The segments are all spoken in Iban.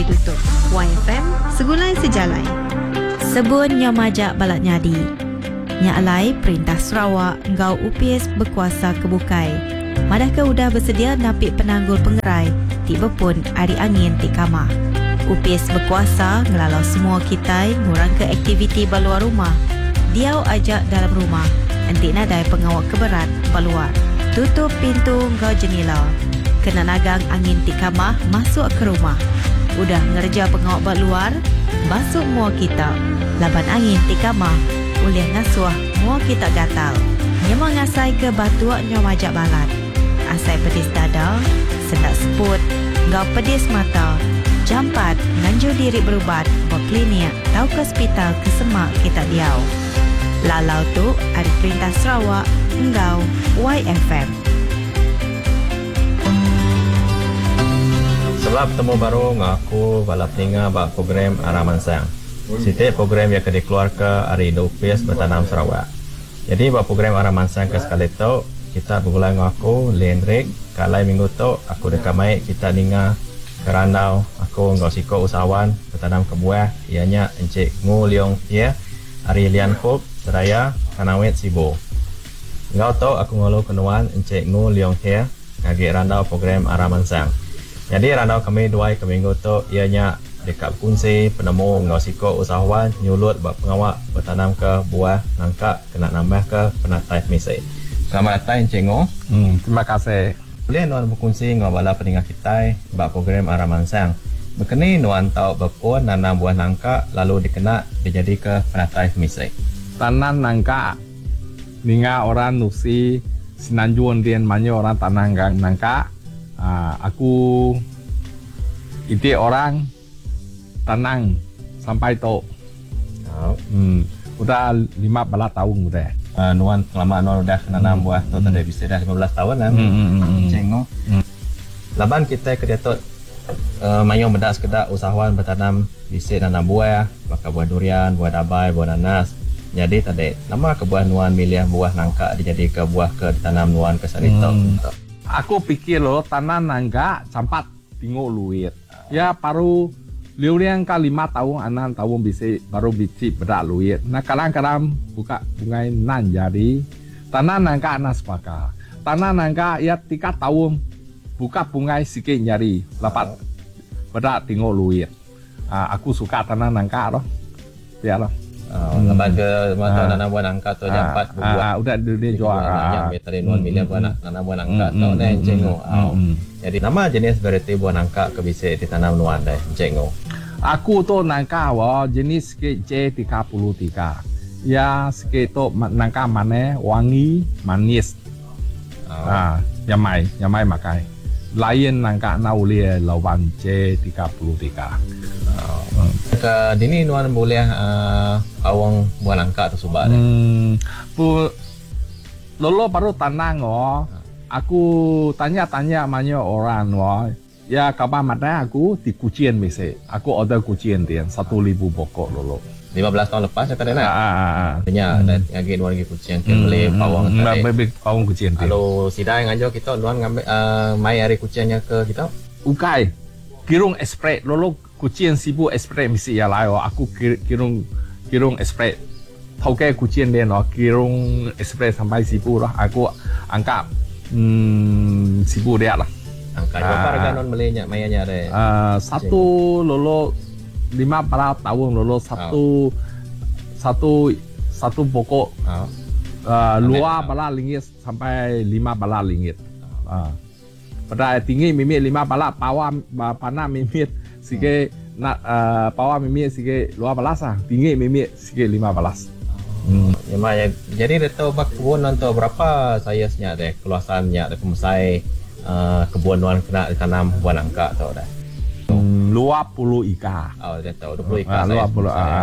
ditutup. Waifm Segulai Sejalai. Sebun nyau majak balat nyadi. Nya alai Perintah Sarawak enggau opis bekuasa ke bukai madahka udah besedia napi penanggul pengerai ti bepun ari angin ti kamah. Opis bekuasa ngelalau semua kitai ngurangka aktiviti ba luar rumah, diau aja dalam rumah enti nadai pengawa ke berat ba luar. Tutup pintu enggau jenila kena nagang angin ti kamah masuk ke rumah. Udah ngereja pengawa ba luar, basu mua kita laban angin ti kamah ulih ngasuh mua kita gatal. Nyema ngasaika batuk nyau majak balat, asai pedis dada, sendak seput enggau pedis mata, jampat nganjung diri berubat ba klinik tauka sepital ke semak kita diau. Lalau tu ari Perintah Sarawak enggau YFM. Sela betemu baru enggau aku bala peninga ba program Arah Mansang. Siti program iya ke dikeluarka ari Indu Opis Betanam Sarawak. Nyadi ba program Arah Mansang ke sekali tu, kita begulai enggau aku, Lee Hendrick, ke alai minggu tu aku deka mai kita ninga ke randau aku enggau siku usahawan betanam ke buah iya nya Encik Ngu Leong Hie ari Lian Hup, Seraya, Kanowit, Sibu. Enggau tu aku ngulu ke nuan Encik Ngu Leong Hie ngagi randau program Arah Mansang. Nyadi randau kami duai ke minggu tu iya nya Deka bekunsi penemu enggau siku usahawan nyulut ba pengawa betanamka buah nangka kena nambahka penatai pemisi. Selamat datai Encik Ngo. Terima kasih. Ulih nuan bekunsi enggau bala peninga kitai ba program Arah Mansang. Bekeni nuan tau bepun nanam buah nangka lalu dikena dijadika penatai pemisi. Tanam nangka ninga orang nusi Semenanjung din mayuh orang tanam nangka aku. Iti orang tanang sampai tu. Udah 15 taun udah. Nuan pengelama nuan udah nanam buah tu tadi bisi dah 15 taun lah. Cenggu. Laban kitai ke diatu mayuh meda sekeda usahawan betanam bisi nanam buah baka buah durian, buah dabai, buah nanas. Nyadi tadi nama kebuah nuan milih buah nangka dijadika buah ke ditanam nuan ke sehari tu? Aku pikir lo tanah nangga jampat tengok luit. Ya baru liuliang ka lima taun anam taun bisi baru bisi peda luit. Nah kadang kadang buka bungai nan jadi tanah nangga nah sebaka. Tanah nangga ya tiga taun buka bungai sikit nyadi dapat peda tengok luit. Aku suka tanah nangka tu. Pia lah. Laban ke masa nanam buah nangka tu jampat bebuah. Udah dunia jual. Nya meh tadi nuan milih buah nanam buah nangka tu neh Encik Ngo. Jadi nama jenis varieti buah nangka ke bisi ditanam nuan deh Encik Ngo? Aku tu nangka wa jenis sikit J33. Iya sikit tu nangka manah wangi manis. Nyamai, nyamai makai. Lain nangka enda ulih lawan J33. Ke dini nuan bulih paung buah nangka tu suba deh? Pu lolo baru tanang oh. Aku tanya-tanya mayuh orang oh. Ya kaban madah aku ti Kuching bisi. Aku order Kuching din 1000 pokok lolo. 15 taun lepas nya tadi nah. Nya agi nuan agi Kuching ti meli paung tadi. Meli paung Kuching ti. Lalu sida ngajar kita nuan ngambi mai ari Kuching nya ke kita? Ukai. Kirung express lolo Kuching Sibu express bisi iya lai aku kirung kirung express. Tauke Kuching din kirung express sampai Sibu lah aku angka Sibu dia lah. Angka berapa harga nuan meli nya maya nya deh? Satu lolo 15 taun lolo satu satu satu pokok dua bala ringgit sampai lima bala ringgit. Peda tinggi mimit lima bala pawa panak mimit sigi na pawa mimit sigi 12 ah tinggi mimit sigi 15. Nyema iya jadi ditu ba kebun nuan tu berapa saiz nya deh keluasan nya deh pemesai kebun nuan kena ditanam buah nangka tu deh. 20 ika. Oh ditu 20 ika saiz pemesai iya.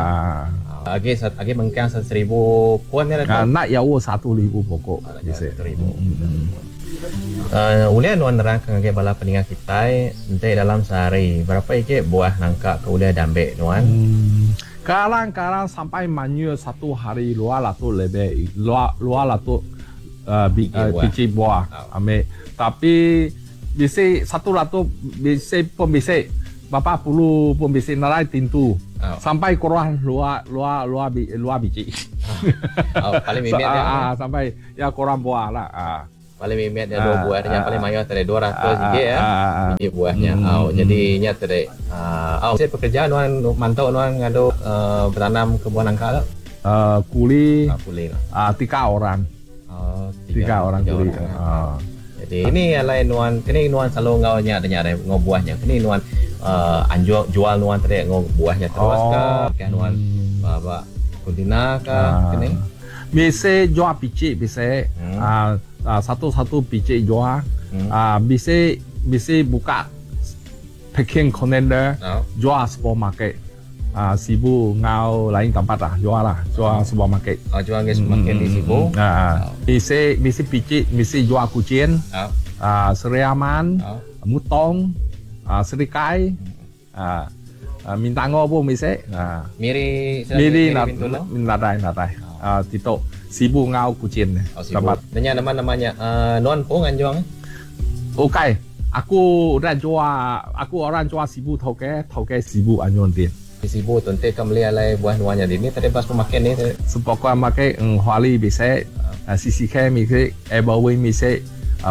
Agi agi mengkang 1000 pun nya ditu. Enda jauh 1000 pokok bisi. Ulih nuan nerangka ngagai bala peninga kitai enti dalam sehari berapa igi buah nangka ke ulih diambi nuan? Kadang-kadang sampai manyuh satu hari luar latu lebih luar latu biji buah ambi tapi bisi satu latu bisi pun bisi. Bapa pulu pun bisi narai tintu sampai kurang lua lua lua lua biji. Oh, paling mimit dia. Ah, sampai ya kurang buah lah. Ah. Paling mimit dia dua buah dia paling mayuh tadi 200 ringgit ya. Biji buahnya. Oh, jadi nya tadi ah oh, pekerja nuan mantau nuan ngadu betanam ke buah nangka tu. Kuli. Kuli. Tiga orang. Oh, tiga orang kuli. Ah. Jadi ini alai nuan kini nuan selalu ngau nya nya ngau buahnya. Kini nuan anjual jual nuan tadi ngau buahnya terus ke ke nuan ba kuntina ke kini. Bisa jual biji bisa satu-satu biji jual. Bisa bisa buka packing container jual supermarket. Sibu ngau lain tempat lah jual lah jual supermarket. Oh, jual ke supermarket di Sibu. Bisa bisa biji bisa jual kucing. Seri Aman, Mutong, Serikai, Mintango pun bisa. Miri Miri nak nadai nadai. Tito Sibu ngau kucing. Oh, Sibu. Nanya nama namanya nuan pun anjuang. Okey, aku udah jual, aku orang jual Sibu toke toke Sibu anjuang dia. Sibu tu nanti kamu beli alai buah nuannya di ni tadi pas pemakai ni. Supermarket Huali bisa, CCK bisa, Everwin bisa,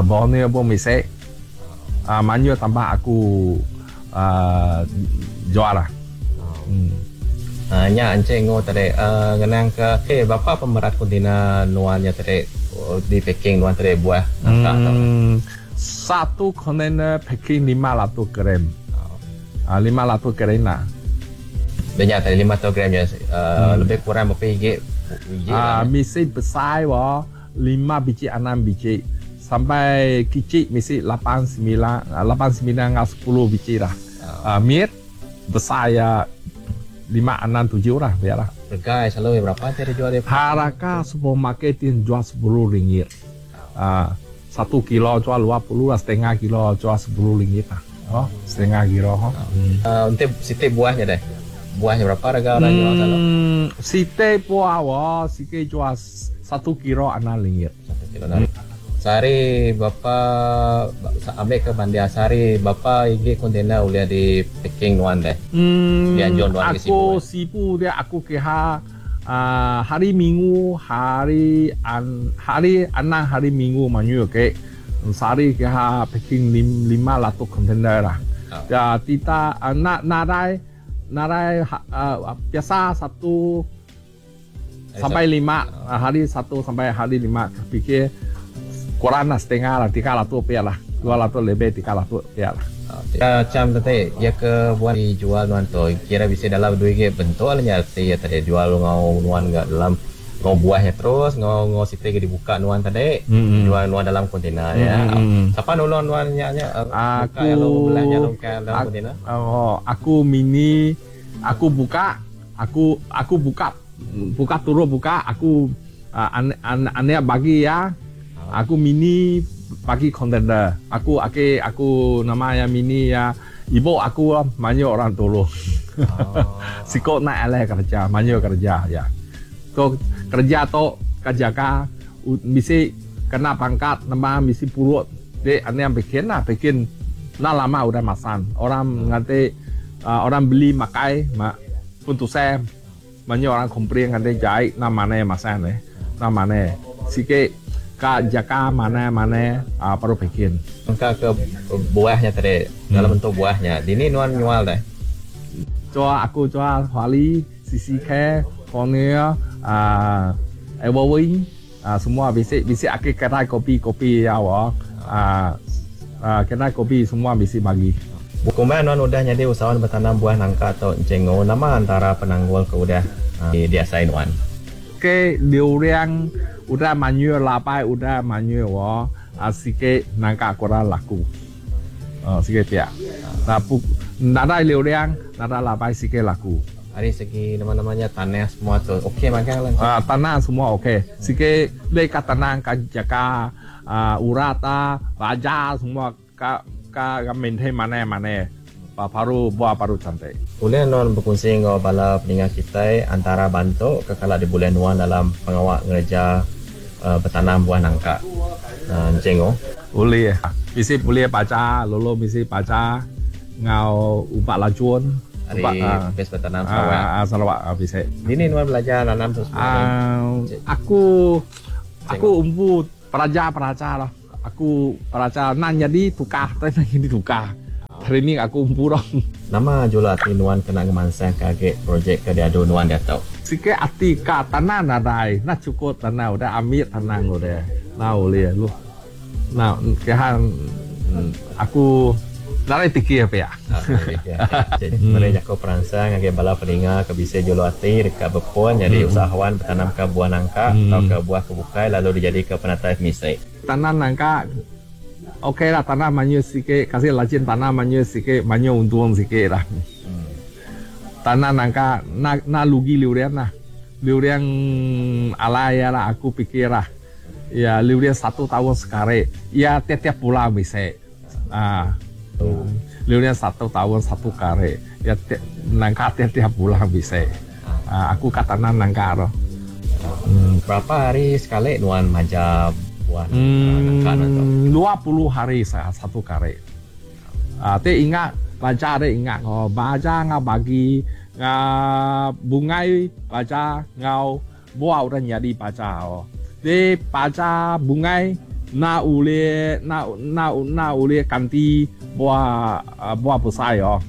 Borneo pun bisa. Manyu tambah aku jual lah. Nya encik ngo tadi ngenang ke eh bapa pemerat kontainer nuannya tadi di packing nuan tadi buah nangka tu. Satu kontainer packing 500 gram. 500 gram lah. Banyak tadi 500 gram ya, lebih kurang berapa ringgit? Misi besar wah 5 biji 6 biji sampai kecil misi 8 9 8 9 ngau 10 biji lah. Mir besar ya 5 6 7 lah biarlah. Harga selalu berapa tadi jual dia? Harga supermarket dia jual 10 ringgit. 1 kilo jual 20 lah, setengah kilo jual 10 ringgit lah. Oh, setengah kilo. Untuk siti buahnya deh. Buahnya berapa harga orang jual selalu? Siti buah wah, siti jual 1 kilo 6 ringgit. 1 kilo 6. Sehari bapa ambil ke Bandia sehari bapa igi kontainer ulia di packing nuan deh. Dia jual nuan ke Sibu. Aku Sibu dia aku ke hari Minggu hari an hari enam hari Minggu manyu ke sehari ke packing 500 kontainer lah. Ya tidak nak nadai nadai biasa 1 sampai 5 hari 1 sampai hari 5 fikir kurang lah setengah lah 300 rupiah lah 200 lebih 300 rupiah lah. Macam tadi ya ke buat dijual nuan tu kira bisa dalam duit ke bentuk lah nya ya tadi jual ngau nuan enggak dalam ngau buahnya terus ngau ngau siti ke dibuka nuan tadi jual nuan dalam kontainer ya. Siapa nolong nuan nya nya aku belahnya dalam kontainer? Oh, aku mini aku buka aku aku buka buka turun buka aku ane bagi ya. Aku mini bagi kontainer. Aku aku aku namanya mini ya. Ibu aku banyak orang tolong. Sikok nak alih kerja, banyak kerja ya. So kerja tu kerja ka mesti kena pangkat, nama mesti purut. Dia ane yang bikin lah, bikin nak lama udah masan. Orang nanti orang beli makai, mak pun tu saya banyak orang komplain nanti jahit nama mana masan ni, nama mana. Sikit ka jaga mana mana perlu bikin. Engkau ke buahnya tadi dalam bentuk buahnya. Dini nuan jual deh. Jual aku jual Huali, CCK, Cornea, Everwin, semua bisa bisa aku kedai kopi kopi ya wah, kedai kopi semua bisa bagi. Bukan nuan udah jadi usahawan bertanam buah nangka atau cengo nama antara penanggul ke udah diasain nuan. Ke 流量 udah manyu labai udah manyu wah, sikit nangka kurang laku. Sikit dia. Nah, bu, nada 流量, nada labai sikit laku. Dari segi nama-namanya tanah semua tu okey makan lah. Tanah semua okey. Sikit leka tanah ka jaga urata, baja semua ka ka maintain mana mana. Baru buah baru cantik. Boleh non berkongsi dengan bala pendengar kita antara bantu ke kalau di bulan nuan dalam pengawak ngerja bertanam buah nangka. Cengo. Boleh. Mesti boleh baca, lolo mesti baca. Ngau ubat lajun. Ari Opis Betanam Sarawak. Sarawak bisi. Dini nuan belajar nanam tu semua ni? Aku aku empu pelajar-pelajar lah. Aku pelajar nan nyadi tukar tai nan nyadi tukar. Training aku empu lah. Nama jula ati nuan kena ngemansangka agi projek ke diadu nuan diatu? Sikit ati ka tanah nadai. Nah chukup tanah udah ambil tanah udah. Nah ulih lu. Nah kehan aku nadai pikir pia. Meri jaku peransang ngagai bala peninga ke bisi juluk ati deka bepun nyadi usahawan betanamka buah nangka tauka buah ke bukai lalu dijadika penatai pemisi. Tanam nangka ok lah tanam mayuh sikit kasi lajin tanam mayuh sikit mayuh untung sikit lah. Tanam nangka enda rugi liuran lah. Liuran alai lah aku pikir lah. Iya liuran satu taun sekali iya tiap-tiap bulan bisi. Ah liuran satu taun satu kali iya nangka tiap-tiap bulan bisi. Ah aku ka tanam nangka tu. Berapa hari sekali nuan maja buah nangka nuan tu? 20 hari satu kali. Ah ti ingat baja ti ingat ko baja enggau bagi enggau bungai baja enggau Buah udah nyadi baja oh. Di baja bungai enda ulih enda enda enda ulih ganti buah buah besai oh.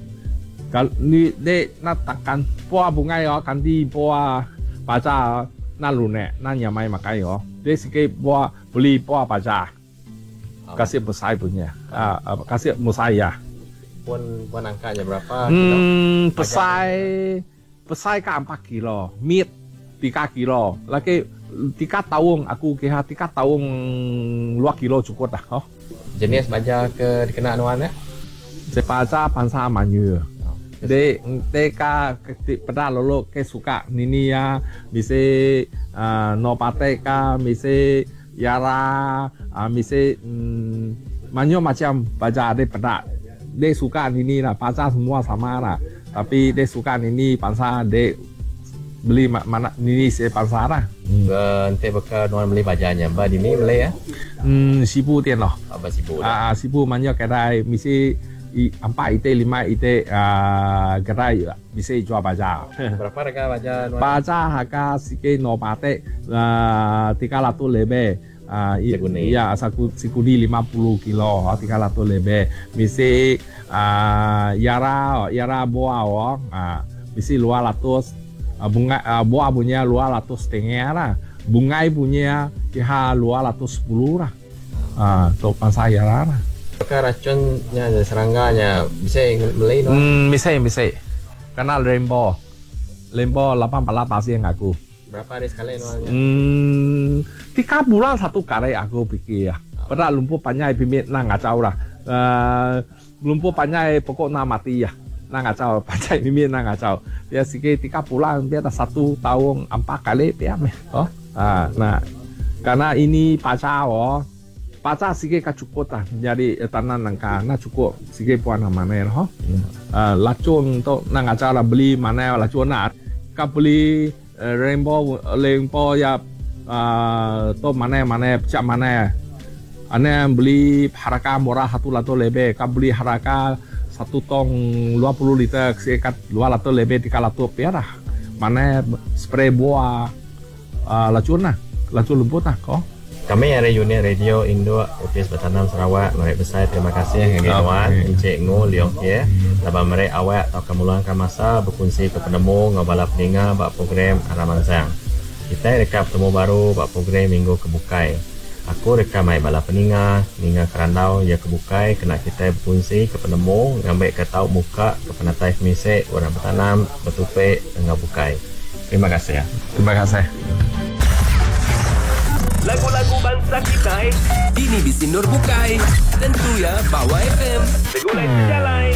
Kal ni di enda takkan buah bungai oh ganti buah baja enda lunak enda nyamai makai oh. Di sikit buah beli buah baja kasih besai punya kasih besai ya. Pun buah nangka nya berapa kilo? Hmm besai. Besai ka empat kilo, mit tiga kilo. Lagi tiga taung aku kiha tiga taung lua kilo cukup dah oh. Jenis baja ke dikena nuan nya? Sebaja bansa manyu. Dek dek ka ti peda lolo ke suka nini iya bisi uhh no patek ka bisi yara uhh bisi uhh mayuh macam baja dek peda. Dek suka nini lah baja semua sama lah. Tapi dek suka nini bansa dek beli mana nini sik bansa lah. Enti baka nuan meli baja nya ba dini meli ah? Emm sibu ti loh. Oh ba sibu dah. Aa sibu manyuh kedai misi empat iti lima iti aaa kedai bisi jual baja. Berapa rega baja nuan? Baja harga sikit no batik aaa 300 lebih. Iya sikuni 50 kilo 300 lebih bisi yara yara buah bisi 200 bungai buah punya 200 setengah lah bungai punya kiha 210 lah tu bansa yara lah. Baka rachun nya serangga nya bisi meli nuan? Bisi bisi kena rainbow rainbow 18 pasien aku. Berapa hari sekali nuan nya? Emm tiga bulan satu kali aku pikir. Peda lumpur panjai pimit enda ngachau lah. Emm lumpur panjai pokok enda mati ah. Enda ngachau panjai pimit enda ngachau. Pia sikit tiga bulan pia dah satu taun empat kali pia meh. Oh. Ha nah. Karena ini paca oh. Paca sikit ka cukup lah jadi tanah nangka enda cukup sikit puan maneh lah ho. Lacun tu enda ngachau lah beli maneh lacun lah. Ka beli Rainbow rainbow ya tu maneh maneh pecah maneh ane beli harga murah 100 lebih ka beli harga satu tong 20 liter sik ka 200 lebih 300 pia lah maneh spray buah lacun lah lacun lembut lah ko. Kami ari unit radio induk Opis Betanam Sarawak meri besai terima kasih ngagai nuan Encik Ngu Leong Hie laban meri awak tauka meluangka masa bekunsika penemu enggau bala peninga ba program Aram Mansang. Kitai deka betemu baru ba program minggu ke bukai. Aku deka mai bala peninga ninga kerandau iya ke bukai kena kitai bekunsika penemu ngambika tau muka ke penatai pemisi orang betanam, betupi enggau bukai. Terima kasih. Terima kasih. Lagu-lagu bansa kitai. Dini bisi endur bukai. Tentu ya ba Wai FM. Segulai sejalai.